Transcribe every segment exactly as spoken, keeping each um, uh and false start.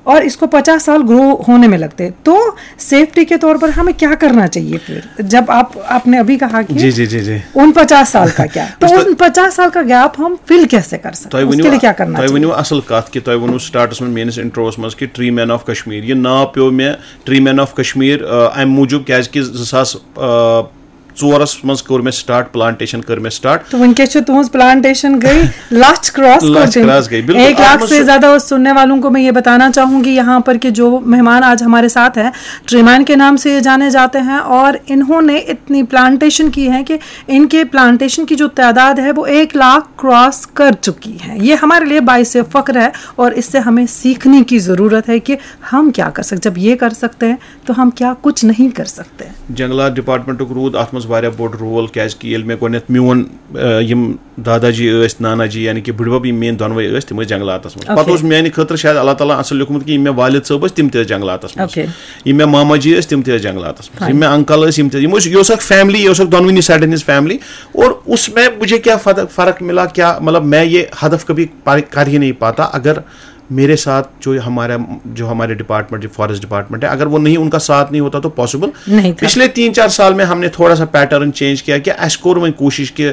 और इसको पचास साल ग्रो होने में लगते हैं। तो सेफ्टी के तौर पर हमें क्या करना चाहिए फिर, जब आप आपने अभी कहा कि जी जी जी जी उन पचास साल का क्या, तो पिछले- उन पचास साल का गैप हम फिल कैसे कर सकते تۄہہِ हैं, ؤنِو उसके लिए क्या करना تۄہہِ चाहिए? ؤنِو اَصٕل کَتھ کہِ تۄہہِ ووٚنوُ سٹارٹس منٛز میٲنِس انٹروَس منٛز کہِ ٹری مین آف کشمیر، یہِ ناو پیوٚو مےٚ ٹری مین آف کشمیر اَمہِ موٗجوٗب کیازِ کہِ زٕ ساس ژورَس منٛز کوٚر مےٚ سٹارٹ، پلانٹیشن کٔر مےٚ سٹارٹ۔ تو وٕنکیٚس چھِ تُہٕنٛز پلانٹیشن گٔے لچھ کراس کر لچھ دِنۍ۔ کراس گٔے، بِلکُل۔ ایک اَتھ لاکھ منٛز سے چھُ- زیادہ اور سننے والوں کو میں یہ بتانا چاہوں گی یہاں پر کہ جو مہمان آج ہمارے ساتھ ہیں، ٹریمان کے نام سے یہ جانے جاتے ہیں، اور انہوں نے اتنی پلانٹیشن کی ہے کہ ان کے پلانٹیشن کی جو تعداد ہے وہ ایک لاکھ کراس کر چکی ہے۔ یہ ہمارے لیے باعث فخر ہے اور اس سے ہمیں سیکھنے کی ضرورت ہے کہ ہم کیا کر سکتے، جب یہ کر سکتے ہیں تو ہم کیا کچھ نہیں کر سکتے۔ جنگلات ڈپارٹمنٹُک روٗد اَتھ منٛز واریاہ بوٚڑ رول، کیازِ کہِ ییٚلہِ مےٚ گۄڈٕنٮ۪تھ میون آ، یِم دادا جی ٲسۍ، نانا جی، یعنی کہِ بٕڈبب، یِم میٲنۍ دۄنوَے ٲسۍ، تِم ٲسۍ جنگلاتس منٛز۔ Okay۔ پتہٕ اوس میانہِ خٲطرٕ شاید اللہ تعالیٰ اصل لیوٚکھمُت کہِ یِم مےٚ والد صٲب ٲسۍ، تِم تہِ ٲسۍ جنگلاتس منٛز۔ Okay۔ یِم مےٚ ماما جی ٲسۍ، تِم تہِ ٲسۍ جنگلاتس منٛز۔ یِم مےٚ انکل ٲسۍ، یِم تہِ، یِم ٲسۍ، یہِ اوس اکھ فیملی، یہِ اوس اکھ دۄنوٕنی سایڈن ہٕنٛز فیملی۔ اور اس میں مجھے کیا فرق، فرق ملا، کیا مطلب، میں یہ ہدف کبھی پا-، کر ہی نہیں پاتا اگر میرے ساتھ جو ہمارا، جو ہمارے ڈپارٹمنٹ، جو فارسٹ ڈپارٹمنٹ ہے، اگر وہ نہیں، ان کا ساتھ نہیں ہوتا تو پاسبل نہیں تھا۔ پچھلے تین چار سال میں ہم نے تھوڑا سا پیٹرن چینج کیا کہ اَسہِ کوٚر وۄنۍ کوٗشِش کہ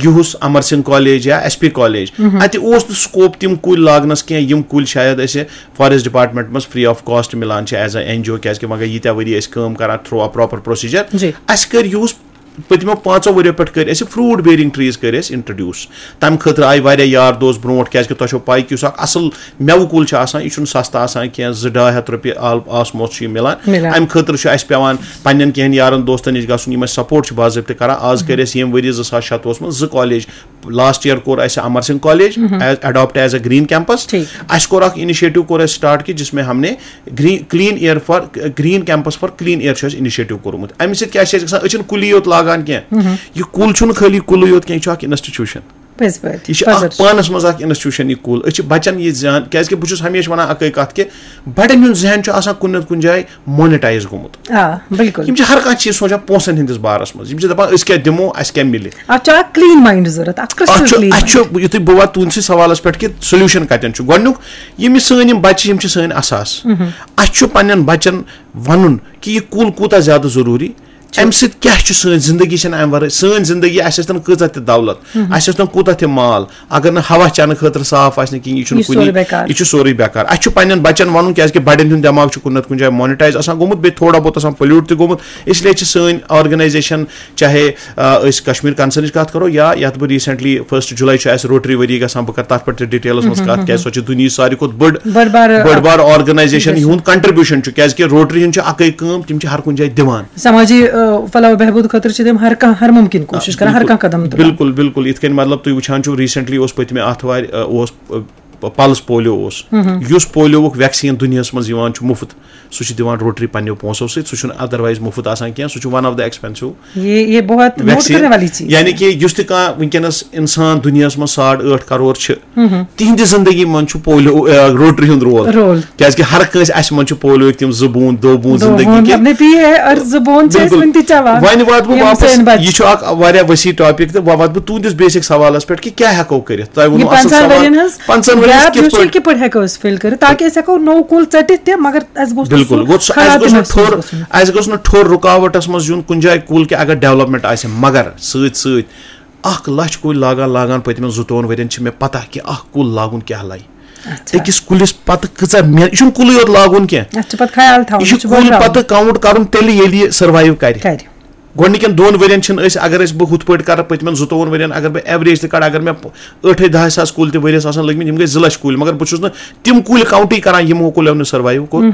یُہُس امر سنگھ کالج یا ایس پی کالج، اتہِ اوس نہٕ سکوپ تِم کُلۍ لاگنس کینٛہہ، یِم کُلۍ شاید اسہِ فارسٹ ڈپارٹمنٹ منٛز فری آف کاسٹ مِلان چھِ ایز اے این جی او، کیازِ کہِ وۄنۍ گٔے ییٖتیٛاہ ؤری أسۍ کٲم کران تھرو آ پراپر پروسیجر۔ جی۔ اسہِ کٔرۍ یُہُس پٔتمیو پانٛژو ؤریو پٮ۪ٹھ کٔرۍ اسہِ فروٹ بیرنگ ٹریز کٔرۍ اسہِ انٹروڈیوس۔ تمہِ خٲطرٕ آیہِ واریاہ یار دوس برونٛٹھ، کیازِ کہِ تۄہہِ چھو پاے کہِ یُس اکھ اصل مٮ۪وٕ کُل چھُ آسان، یہِ چھُنہٕ سستہٕ آسان کینٛہہ، زٕ ڈاے ہتھ رۄپیہِ آل-، آسموس چھُ یہِ مِلان۔ مِلان۔ امہِ خٲطرٕ چھُ اسہِ پٮ۪وان پننٮ۪ن کینٛہن یارن دوستن نِش گژھُن، یِم اسہِ سپورٹ چھِ باضٲبطہٕ کران۔ آز کٔرۍ اسہِ ییٚمہِ ؤری زٕ ساس شتوُہس منٛز زٕ کالج، لاسٹ یئر کوٚر اسہِ Amar Singh college has adopt as a green campus. ٹھیٖک۔ اسہِ کوٚر اکھ انیشیٹو کوٚر اسہِ سٹارٹ کہِ جس میں ہم نے green, clean air for, green campus for clean air چھُ اسہِ انیشیٹو کوٚرمُت۔ امہِ سۭتۍ کیٛاہ چھِ اسہِ گژھان؟ أسۍ چھِنہٕ کُلی یوت لاگان کینٛہہ، یہِ کُل چھُنہٕ خٲلی کُلُے یوت کینٛہہ، یہِ چھُ اکھ انسٹیٹیوشن۔ پٔزۍ پٲٹھۍ، یہِ چھِ پَزر اکھ چھُ۔ پانس منٛز اکھ انسٹیٹیوشن یہِ کُل۔ أسۍ چھِ بچن یہِ زیان، کیازِ کہِ بہٕ چھُس ہمیشہِ ونان اکٕے کتھ کہِ بڑٮ۪ن ہُنٛد ذہن چھُ آسان کُنہِ نتہٕ کُنہِ جایہِ مونیٹایز گوٚمُت۔ آ، بِلکُل۔ یِم چھِ ہر کانٛہہ چیٖز سونٛچان پونٛسن ہٕنٛدِس بارس منٛز۔ یِم چھِ دپان أسۍ کیٛاہ دِمو، اسہِ کیٛاہ مِلہِ۔ اتھ چھُ اکھ کلین ماینڈ ضروٗرت، اکھ اتھ کرسٹل چھُ، کلین۔ اتھ چھُ، یُتھُے بہٕ واتہٕ تُہنٛدسٕے سوالس پٮ۪ٹھ کہِ سولوشن کتٮ۪ن چھُ، گۄڈٕنیُک یِم یہِ سٲنۍ یِم بچہِ چھِ، یِم چھِ سٲنۍ اساس۔ اسہِ چھُ پننٮ۪ن بچن ونُن کہِ یہِ کُل کوٗتاہ زیادٕ ضروٗری، امہِ سۭتۍ کیٛاہ چھُ سٲنۍ زندگی چھنہٕ امہِ ورٲے، سٲنۍ زندگی، اسہِ ٲسۍ تن کۭژاہ تہِ دولت، اسہِ ٲسۍ تن کوٗتاہ تہِ مال، اگر نہٕ ہوا چٮ۪نہٕ خٲطرٕ صاف آسہِ نہٕ کِہیٖنۍ، یہِ چھُنہٕ یہِ چھُ کُنی، سورُے بیکار۔ یہِ چھُ سورُے بیکار۔ اسہِ چھُ پننٮ۪ن بچن ونُن، کیازِ کہِ بڑٮ۪ن ہُنٛد دٮ۪ماغ چھُ کُنہِ نتہٕ کُنہِ جایہِ مونیٹایز آسان گوٚمُت، بیٚیہِ تھوڑا بہت آسان پولیوٹ تہِ گوٚمُت، اس لیے چھِ سٲنۍ آرگنایزیشن، چاہے آ، أسۍ کشمیر کنسرنٕچ کتھ کرو یا یتھ بہٕ ریسنٹلی فرسٹ جولائی چھُ اسہِ روٹری ؤری گژھان، بہٕ کرٕ تتھ پٮ۪ٹھ تہِ ڈیٹیلس منٛز کتھ، کیازِ سۄ چھِ دُنیہٕچ ساروی کھۄتہٕ بٔڑ بٔڑ بار بٔڑ بار آرگنایزیشن، یِہُنٛد کنٹریبیوشن چھُ، کیازِ کہِ روٹری ہُنٛد چھُ اکٕے کٲم، تِم چھِ ہر کُنہِ جایہِ دِوان۔ سماجی آ، فلاح و بہبود خٲطرٕ چھِ تِم ہر کانٛہہ، ہر مُمکِن کوٗشِش کران، ہر کانٛہہ قدم تُلان۔ بِلکُل، بِلکُل۔ یِتھ کٔنۍ مطلب تُہۍ وٕچھان چھِو، ریسنٹلی اوس پٔتمہِ آتھوارِ آ، اوس آ، پلس پولیو اوس، یُس پولیوُک ویکسیٖن دُنیاہس منٛز یِوان چھُ مُفت، سُہ چھُ دِوان روٹری پننیو پونٛسو سۭتۍ، سُہ چھُنہٕ ادروایز مُفت آسان کینٛہہ، سُہ چھُ ون آف دا ایکسپینسو۔ یہ یہ بہت نوٹ ویکسیٖن۔ کرنے والی چیز۔ یعنی کہ یُس تہِ کانٛہہ وٕنکیٚنس انسان دُنیاہس منٛز ساڑ ٲٹھ کرور چھِ، تِہنٛدِ زندگی منٛز چھُ پولیو، آ، روٹری ہُنٛد رول۔ رول۔ کیازِ کہِ ہر کٲنٛسہِ اسہِ منٛز چھُ پولیوٕکۍ تِم زٕ بوٗنٛد، دو بوٗنٛد دو زندگی بوٗنٛد کہِ۔ اپنے پیے ہے اور زٕ بوٗنٛد چھِ أسۍ بِلکُل۔ وٕنہِ تہِ چٮ۪وان۔ وۄنۍ واتہٕ بہٕ یِم واپس، سٲنۍ بچہِ۔ یہِ چھُ اکھ واریاہ وسیع ٹاپک تہٕ وۄنۍ واتہٕ بہٕ تُہنٛدِس بیسک سوالس پٮ۪ٹھ کہِ کیٛاہ ہٮ۪کو کٔرِتھ؟ تۄہہِ یہِ ووٚنوٕ اصل پنٛژاہن سوال۔ ؤرین ہٕنٛز پنٛژاہن ؤرین گیپ کِتھ یُس چھُ، پٲٹھۍ؟ یہِ کِتھ پٲٹھۍ ہٮ۪کو أسۍ فِل کٔرِتھ تاکہِ أسۍ ہٮ۪کو نوٚو کُل ژٔٹِتھ تہِ، مگر اَسہِ گوٚژھ نہٕ بِلکُل، سُہ گوٚژھ سُہ، خراب اَسہِ گوٚژھ نہٕ تہِ ٹھوٚر، محسوٗس گژھُن۔ اَسہِ گوٚژھ نہٕ ٹھوٚر رُکاوٹَس منٛز یُن کُنہِ جایہِ کُل کہِ اگر ڈیولپمنٹ آسہِ، مگر سۭتۍ سۭتۍ اَکھ لَچھ کُلۍ لاگان لاگان پٔتمٮ۪ن زٕتووُہَن ؤرِین چھِ مےٚ پَتہ کہِ اَکھ کُل لاگُن کیٛاہ لَگہِ۔ اچھا۔ أکِس کُلِس پَتہٕ کۭژاہ محنت، یہِ چھُنہٕ کُلُے یوت لاگُن کینٛہہ۔ اَتھ چھُ پَتہٕ خیال تھاوُن، یہِ چھُ بٔڑراوُن۔ کُل پَتہٕ کاوُنٹ کَرُن تیٚلہِ ییٚلہِ یہِ سٔروایِو کَرِ۔ کَرِ۔ گۄڈٕنِکٮ۪ن دۄن ؤرین چھِنہٕ أسۍ، اگر أسۍ بہٕ ہُتھ پٲٹھۍ کَرٕ، پٔتمٮ۪ن زٕتووُہَن ؤرین اگر بہٕ ایوریج تہِ کَڑٕ، اگر مےٚ ٲٹھے دَہے ساس کُلۍ تہِ ؤریَس آسان لٔگمٕتۍ، یِم گٔے زٕ لَچھ کُلۍ، مگر بہٕ چھُس نہٕ تِم کُلۍ کاوُنٹٕے کَران، یِمو کُلیو نہٕ سٔروایِو کوٚر۔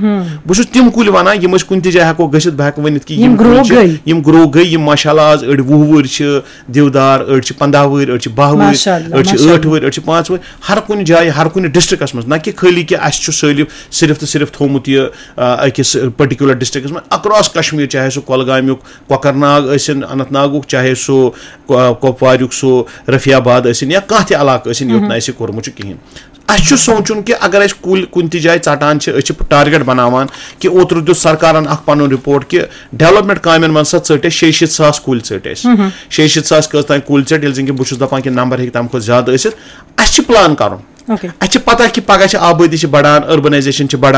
بہٕ چھُس تِم کُلۍ وَنان، یِم أسۍ کُنہِ تہِ جایہِ ہٮ۪کو گٔژھِتھ، بہٕ ہٮ۪کہٕ ؤنِتھ کہِ یِم یِم گرو کُلۍ چھِ، گٔے۔ یِم گرو گٔے، یِم ماشاء اللہ آز أڑۍ وُہ وُہٕرۍ چھِ، دِودار، أڑۍ چھِ پنٛداہ وُہٕرۍ، أڑۍ چھِ باہ وُہٕرۍ، ماشاء اللہ، أڑۍ چھِ ماشاء ٲٹھ وُہٕرۍ، أڑۍ چھِ پانٛژھ وُہٕرۍ۔ ہر کُنہِ جایہِ، ہر کُنہِ ڈسٹرکٹس منٛز، نہ کہِ خٲلی کہِ اَسہِ چھُ سٲلِم صرف تہٕ صرف تھوٚومُت یہِ، آ، أکِس پٔرٹِکیوٗلر ڈسٹرکٹس منٛز، اکراس کشمیر، چاہے سُہ کۄلگامیُک، کۄکرناگ ٲسِن، اننت ناگُک، چاہے سُہ کو-، کۄپواریُک سُہ رفیع آباد ٲسِن یا کانٛہہ تہِ علاقہٕ ٲسِن یوٚت نہٕ اَسہِ یہِ کوٚرمُت چھُ کِہیٖنۍ۔ اَسہِ چھُ سونٛچُن کہِ اگر أسۍ کُلۍ کُنہِ تہِ جایہِ ژَٹان چھِ، أسۍ چھِ ٹارگیٹ بَناوان کہِ اوترٕ دیُت سرکارَن اَکھ پَنُن رِپورٹ کہِ ڈیولپمنٹ کامٮ۪ن منٛز سا ژٔٹۍ اَسہِ شیٚیہِ شیٖتھ ساس کُلۍ ژٔٹۍ اَسہِ۔ شیٚیہِ شیٖتھ ساس کٔژ تام کُلۍ ژٔٹۍ، ییٚلہِ زَن کہِ بہٕ چھُس دَپان کہِ نمبر ہیٚکہِ تَمہِ کھۄتہٕ زیادٕ ٲسِتھ۔ اَسہِ چھِ پٕلان کَرُن۔ اوکے۔ اَسہِ چھِ پَتہ کہِ پَگاہ چھِ آبٲدی چھِ بَڑان، أربَنایزیشَن چھِ بَڑان،